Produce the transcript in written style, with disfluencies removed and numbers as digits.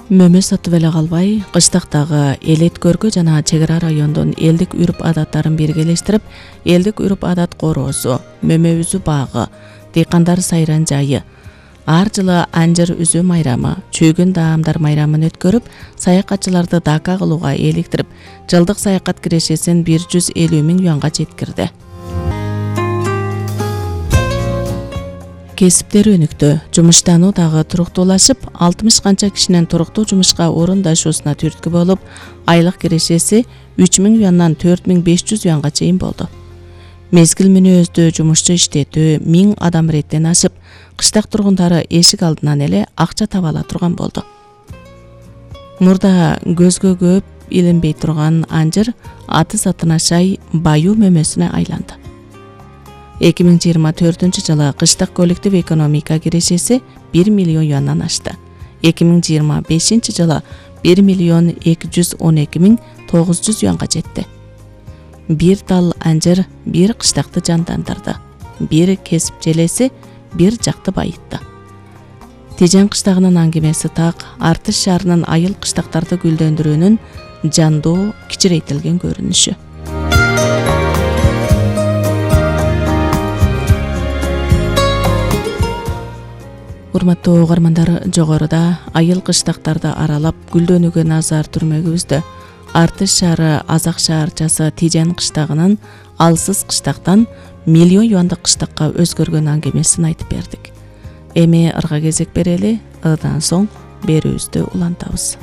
Мөмө сатып эле калбай, кыштактагы эл эткөргө жана чек ара райондун элдик үрп-адаттарын биргелештирип, элдик үрп-адат короосу, мөмө үзүү багы, дыйкандар сайран жайы, ар жылы анжыр үзүү майрамы, чүйгүн даамдар майрамын өткөрүп, саякатчыларды Дака кылууга эликтирип, жылдык саякат кирешесин 150 миң юанга жеткирди. Кесиптер өнүктү. Жумуштануу дагы туруктуулашып, 60 канча кишинин туруктуу жумушка орундашуусуна түрткү болуп, айлык кирешеси 3 миң юандан 4500 юанга чейин болду. Мезгил мүнөздүү жумушчу иштетүү 1000 адам реттен ашып, кыштак тургундары эшик алдынан эле акча таба ала турган болду. Мурда көзгө көп илинбей турган анжыр аты сатына шай баюу мөмөсүнө айланды. 2024 жылы кыштак коллектив экономика кирешеси 1 миллион юандан ашты. 2025 жылы 1 миллион 212 миң 900 юанга жетти. Бир тал анжыр бир кыштакты жандандырды. Бир кесип желеси бир жакты байытты. Тижен кыштагынын аңгемеси так Артыш шаарынын айыл кыштактарды гүлдөндүрүүнүн жандуу, кичирейтилген көрүнүшү. Урматтуу угармандар, жогоруда айыл кыштактарды аралап гүлдөнүүгө назар түрмөгүбүздө Артыш шаары Азак шаарчасы Тижен кыштагынын алсыз кыштактан миллион юандык кыштакка өзгөргөн аңгемесин айтып бердик. Эми ырга кезек берели, ыдан соң берүүбүздү улантабыз.